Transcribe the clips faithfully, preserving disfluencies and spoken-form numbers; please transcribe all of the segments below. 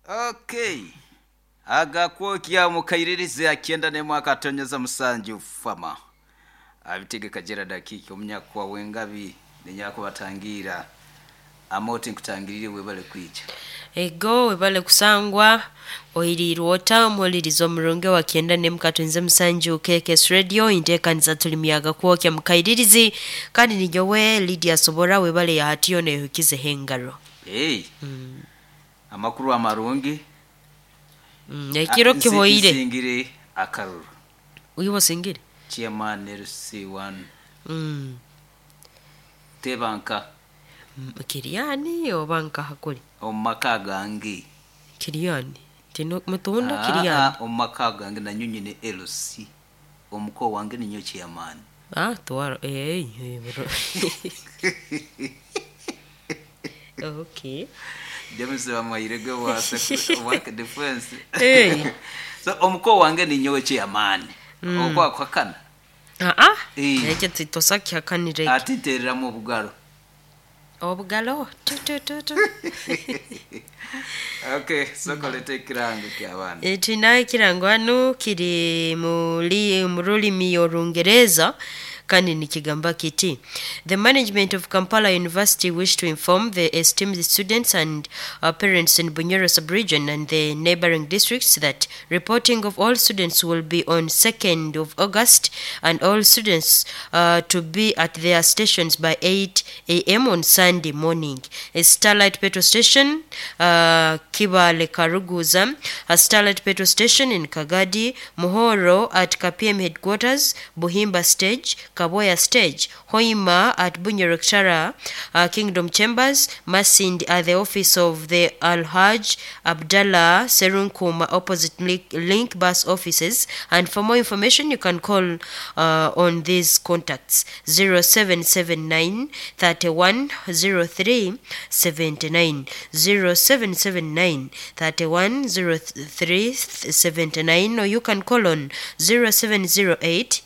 Okay, agakwokya mukairirizi akienda nemwaka atonyeza musanju fama abitegeka Gerard Akiki omunyakwa wengabi nenyakubatangira amoti nkutangirire webale kwicha. Ego webale kusangwa oirirwe ota omuhuliriza omurungi wa kyenda n'emukatwenze musanju K K S Radio inteekaniza tuli miyaga kwokya mukairirizi kandi nijowe Lydia Sobora webale yahatiyo nehukize hengaro. Hey. Mm. Amakuru amarungi. Mm, ekiro kihoire. Singire akaruru. Uyibo singire? Chairman L C one. Mm. Tebanka. Mm, Kiriani obanka hakuri. Omaka gange. Kiriani. Tino mutunda Kiriani. Ah, omaka gange na nyunyi ni L C. Omuko wange ni nyo chairman. Ah, tuwaro. Eh, eh, bro. Okay. James wa Mairege wa work defense. Hey. So omuko wange ni nyowe chairman. Mm. Okwa kwakana. Ah ah. Ekyo titosaki hakanire. Atiterera mu bugalo. Obugalo. Tu tu tu tu. Okay, so kolete kirango kya bana. E tunaye kirango hano kiri muri murulimi Orungereza. Kandi nikigamba kiti. The management of Kampala University wish to inform the esteemed students and uh, parents in Bunyoro sub-region and the neighboring districts that reporting of all students will be on second of August and all students uh, to be at their stations by eight A M on Sunday morning. A Starlight Petrol Station, uh, Kibale Karuguza, a Starlight Petrol Station in Kagadi, Muhoro at K P M headquarters, Buhimba Stage, Kaboya Stage, Hoima at Bunyoro uh, Kingdom Chambers, Masindi at the office of the Al Hajj Abdallah Serunkuma opposite Link, Link Bus offices. And for more information, you can call uh, on these contacts zero seven seven nine thirty-one zero three seventy-nine, zero seven seven nine thirty-one zero three seventy-nine, or you can call on zero seven zero eight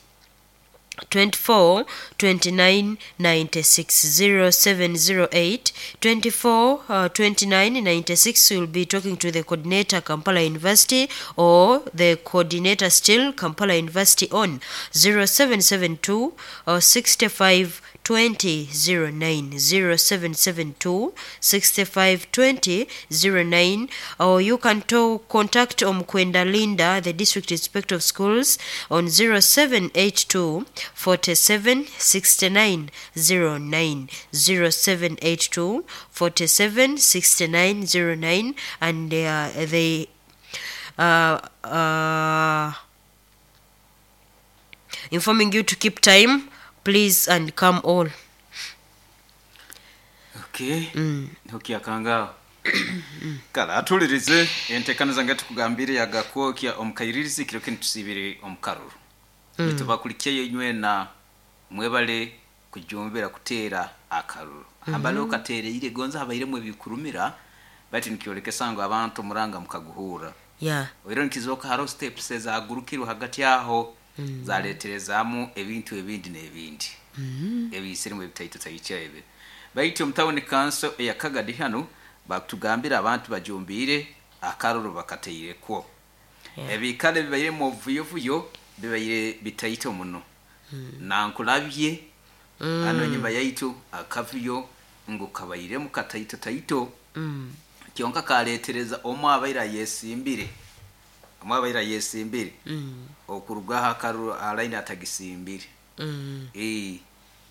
twenty-four twenty-nine ninety-six, zero seven zero eight twenty-four twenty-nine ninety-six. Will be talking to the coordinator Kampala University or the coordinator still Kampala University on zero seven seven two sixty-five twenty zero nine, zero seven seven two sixty-five twenty zero nine, or you can to contact Omkwenda Linda, the district inspector of schools, on zero seven eight two forty-seven sixty-nine zero nine, zero seven eight two forty-seven sixty-nine zero nine, and uh, they uh, uh, informing you to keep time, please, and come all. Okay. Mm. Okay, akanga. Kala atulirize entekaniza ngati kugambire yagakwokya omukairirizi kiro kintu tusibire omukaruru. Mm. Nitubakulikiye inywe na mwebale kujumbira kutera akaruru. Mm -hmm. Ambalo katere ile gonza habairemwe bikurumira bati nikiolekesa ngo abantu muranga mukaguhura. Yeah. Oiro nikizoka haro steps za gurukiro hagati yaho. Mm. Zaleterezamu ebintu ebindi n'ebindi. Mm. Ebisirimu ebitaito tayicha ebe. Baiti omutawuni kanso eya Kagadi hano bakutugambira abantu bajumbire akaruru bakateireko. Yeah. Ebikale bibaire mu vuyovuyo bibaire bitaito muno. Mm. Na nkulabye mm. Ano nyuma yaitu akavuyo ngo kabaire mu kataito taito. Mm. Kyonka kaletereza omwe abaira yesimbire. Omwe abaira yesimbire. Mm. Okurugaho akaru alaini atagisimbire. Mm. Eh,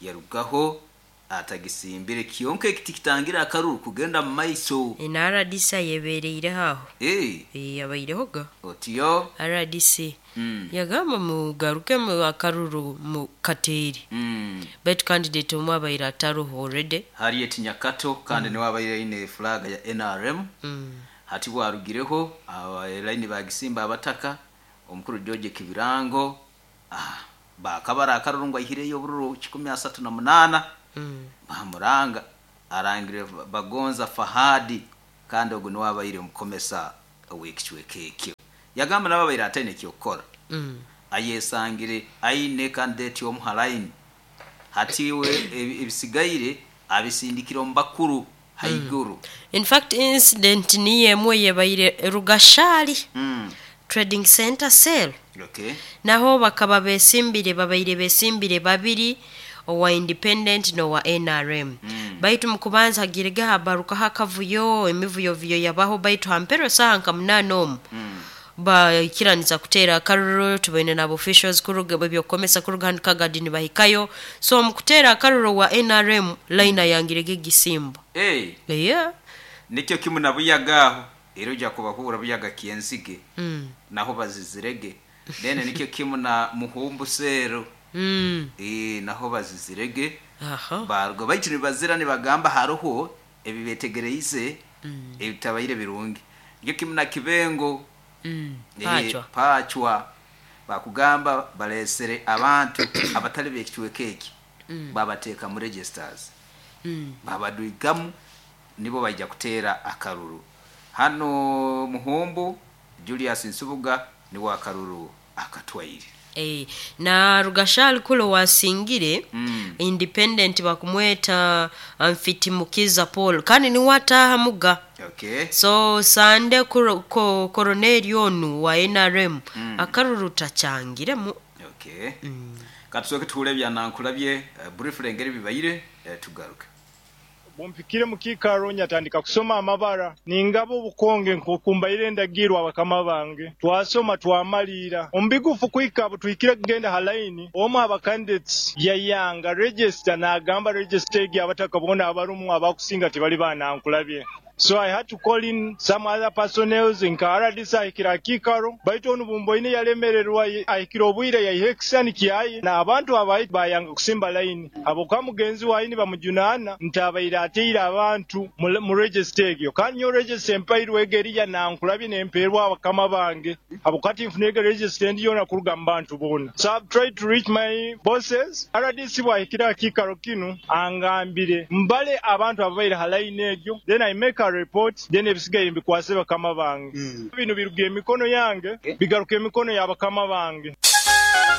yarugaho atagisimbire kyonka ekiti kitangira akaruru kugenda mu maiso. Ina R D C yebereire haho. Eh. Eh, yabaireho Otiyo R D C. Mm. Yagamba mugaruke mu akaruru mu kateri. Mm. Bet candidate omwe abaire ataruho already. Harriet Nyakato kandi mm. niwe abaire ine flag ya N R M. Mm. Hati bwarugireho line bagisimba abataka omukuru George Kibirango ah bakabara akaruru ngo ahireyo bururu kikumi asatu na munana. Mm. Bamuranga arangire Bagonza Fahadi kandi ogo niwe abaire mukomesa wekicwekekyo. Yagamba nabo abaire atene kyokora. Mm. Ayesangire aine candidate omuhalaini. Hatiwe ebisigaire abisindikira ombakuru Haiguru. In fact, incident niyo emwe yebaire Rugashali Mm. Trading Center cell. Okay. Naho bakaba besimbire, babaire besimbire babiri, owa independent n'owa N R M. Mm. Baitu mukubanza hagirege habarukaho akavuyo, emivuyovuyo yabaho, baitu hampero saha nka munaana omu Mm. baikiraniza kuteera akaruru. Tubaine nabo officials kuruga ebyokukomesa kuruga hanu Kagadi nibahikayo. So mukuteera akaruru wa N R M line yangirege gisimba. Hey, yeah. Nikyo kimu na Buyaga aho era ojja kubahura Buyaga Kyenzige, mm. naho bazizirege. Then nikyo kimu na Muhumbu cell. Mm. Eh, naho bazizirege. Aha. Barwo baitu nibazira nibagamba haroho ebibetegereize ebitabaire birungi. Nikyo kimu na Kibengo. mm. Eh, Pachwa. Pachwa bakugamba balesere abantu abatali bekicweka eki, babateeka mu registers, mm. babadwigamu, nibo bajja kuteera akaruru. Hano Muhumbu Julius Nsubuga niwe akaruru akatwaire. Eh, na Rugashali kulo wasingire Mm. independent bakumweta Mfitimukiza Paul, kandi niwataha muga. Okay. So sande kuro, ko, koroneli onu wa N R M Mm. akaruru takyangiremu. Okay, katusooke tuwule byanankulabye uh, briefly engeri bibaire, uh, tugaruke. Bumpikire mu kiikaro nyatandika kusoma amabara ningaba obukonge nkokumbaire endagirwa abakama bange twasoma twamaliira omubigufu kwika abo tuhikire kugenda ha layini omu aba candidates yayanga register n'agamba register egi abataka boona abarumu abakusinga tebali banankulabye. So I had to call in some other personnels nka R D C ahikira akiikaro baitu onu bumboine yalemererwa ahikira obwire yaiha ekisani kyaye n'abantu abayi bayanga kusimba layini habwokuba mugenzi wayi bamujunaana nti abaire ateire abantu mu- mu register egyo. Kandi nyo register empairwe ego eriya nankulabye nempeerwa abakama bange habwokuba tinfuna ego register endi yoona kuruga mu bantu boona. So I've tried to reach my bosses. R D C bwahikira akiikaro kinu angambire mbale abantu ababaire ha layini egyo, then I make a report, then ebisigaire mbikwase bakama bange. Bino biruga emikono yange bigaruka emikono y'abakama bange.